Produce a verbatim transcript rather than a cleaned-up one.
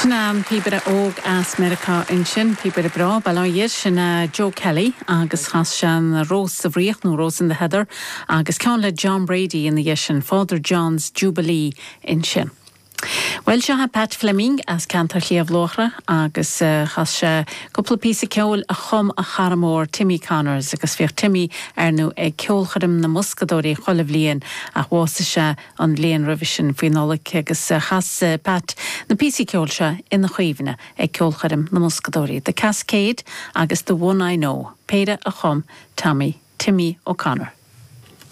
Sin an píobaire óg as Meiriceá ansin píobaire breá baile sin Joe Kelly agus chas sé an Rós sa bhFraoch nó Rose in the Heather agus ceann le John Brady ina dhiaidh sin Father John's Jubilee ansin. Well seo Pat Fleming as ceantar Shliabh Luachra agus uh, chas sé cúpla píosa ceoil a chum a chara mór Timmy Connors agus bhíodh Timmy ar ndóigh ag ceolchoirm na mBoscadóirí chuile bhliain ach bhásaigh sé an bhliain roimhe sin faoi Nollaig agus uh, chas uh, Pat na píosaí ceoil seo ina chuimhne ag ceolchoirm na mBoscadóirí. The Cascade agus The One I Know, péire a chum Tommy Timmy O'Connor.